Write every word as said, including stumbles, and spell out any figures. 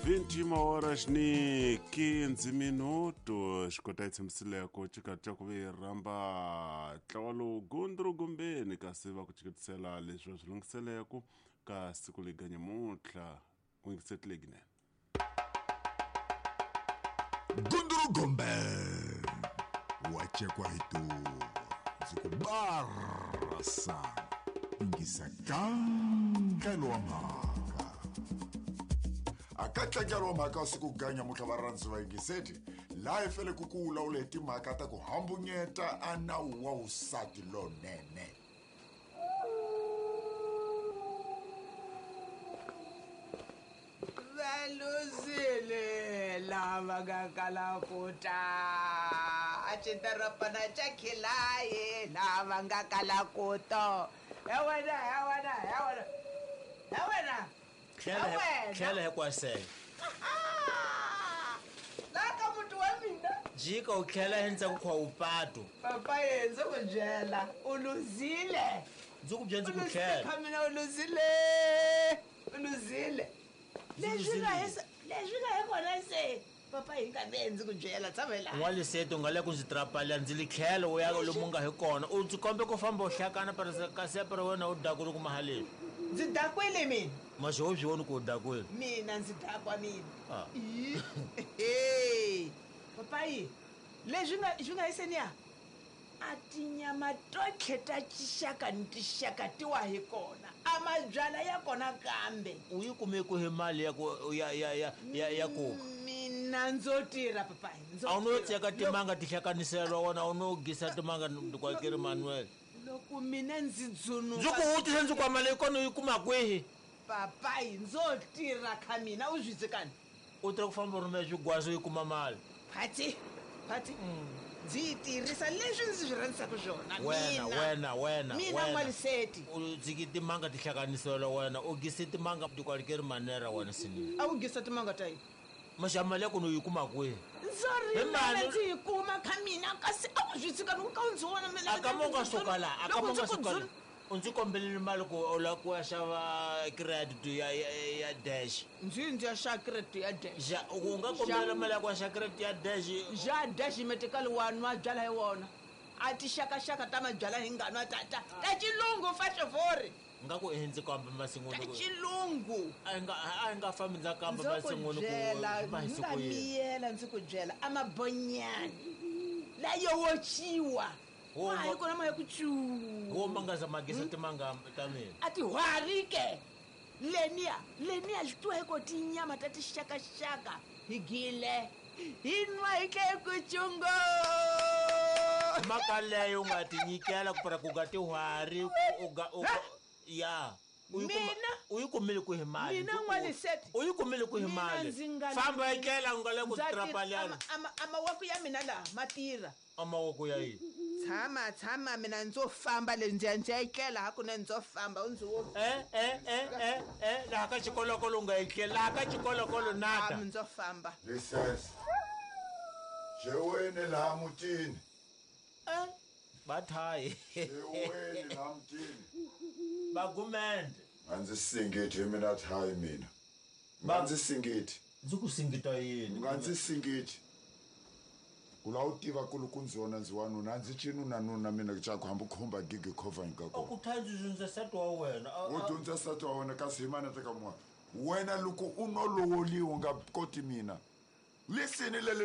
vinte e uma horas ni quinze minutos. Xikota yi tshembisile ku cika ku ve rhamba ntlawa lowu gundru gumbeni kasi va ku ciketisela leswi va swi lunghiseleke ka siku lega nyamuntlha u yingisetile ginene. Gundru Gombe wa cekwa hi tuva ndzi ku barasa yingisa kankelo wa mhaka a ka tlangelo wa mhaka wa siku ganya mutlha va rhandzi va yingiseti laha hi fele ku ku vulavula hi timhaka ta ku hambunyeta a nawu wa vusati lonene. Valuzile lava nga kala ku ta a xidoropana xa khilayi lava nga kala ku to he wena he wena he wena he wena. Tlhela he hi- wena. Tlhela hi kwasele. Laha ka muti wa mina. Jika u tlhela hi ndzhaku kwa upatu. Papa ye ndzi ku byela u luzile. Ndzi ku byela ndzi U ku luzile tlhela. Kha mina u luzile u luzile leswi nga hi leswi nga hi kona se papa hi nga ve ndzi ku byela tshame laha. N'waliseti u nga le ku ndzi trapalela ndzi li tlhela u ya lomu nga hi kona u ndzi kombe ku famba u hlakana kasi para wena u dakule kuma haleni. Ndzi dakwile mina. Maxi wo swi voni ku u dakwile. Mina ndzi dakwa mina. Ah. Ih, he papayi leswi nga swi nga hiseniya a tinyama totlhe ta tixaka ni tixaka ti wa hi kona a mabyala ya kona kambe. U yi kume ku hi mali ya ku ya ya ya ya ya ku Mina ndzo tirha papayi ndzo a wu no tirha. tseka timanga ti hlakaniselwa wona a wu no gisa timanga kwakeri manuel. Loko mina ndzi dzunuka. Ndzi ku vutisa ndzi ku mali yi kona u yi kuma kwihi? Papayi ndzo tirha kha mina u swi tsekani. U tirha ku famba u rhumela swigwazi u yi kuma mali. Phati phati ndzi yi tirhisa leswi ndzi swi rhandzisaka swona. Wena mina. Wena wena Mina wena. N'waliseti. U tsiki timanga ti hlakaniselwa wena u gise timanga tikwalikeri manera wena sinini. A wu gisa timanga ta yini? Maxa mali ya kona u yi kuma kwihi? Ndzo Hi rimela mali- ndzi yi kuma kha mina kasi a wu swi tshika loko ka u ndzi vona mina A ka mo nga suka laha a ka loko mo ndzi nga ku suka laha dzun- u ndzi kombelele mali ku u lava ku ya xava credit ya ya ya dash. Ndzi ndzi ya xava credit ya dash. Ja u nga kombelela mali ya ku ya xava credit ya dash. Ja dash metikali wa nwa byala hi wona a tixakaxaka ta mabyala hi nga nwa ta ta ta xilungu faxovori. Nga ku i ndzi kamba Ta masin'wini ku xilungu. A hi nga a hi nga fambi ndza kamba Ndzo ku masin'wini ku byela ma hi ndzi siku nga yini. miyela ndzi ku byela a mabonyani layo wociwa Wo ma hi ma- kona ma ya ku cuu. Wo mangaza magisa timanga ta mina. A tihwari ke leniya leniya swi tiwa hi ko tinyama ta tixakaxaka hi gile hi nwa hi tle ku cungo. Mhaka leyo u nga ti nyikela ku para ku nga tihwari ku u nga u nga- ya U yi kuma- Mina? u yi kumile ku hi mali. Mina Ndzi ku- N'waliseti? U yi kumile ku hi Mina mali. ndzi nga- Famba etlela u nga le ku Ndza ti- trapalela. ama- ama- amawako ya mina laha ma tirha. Amavoko ya yini? Tshama tshama mina ndzo famba le ndzi ya ndzi ya etlela hakunene ndzo famba u ndzi wo e e e e e laha ka xikolokolo u nga etlela laha ka xikolokolo nada. Ami ndzo famba. Lisesi xeweni laha mutini. Eh, bathayi. Xeweni laha mutini. Bagumende. A ndzi singiti hi mina thayi mina nga ndzi singiti. Ndzi ku singita yini? Nga ndzi singiti ku lava u tiva ku loko ndzi wona ndzi wanuna a ndzi cinunanuna mina caku hambi khumba gigi khovani ka A kona. ku thayi ndzi dyondza nsati wa wena A- U a- dyondza nsati wa wena kasi hi mana teka mun'wana wena loko u no lovoliwa u nga koti mina lisini lele.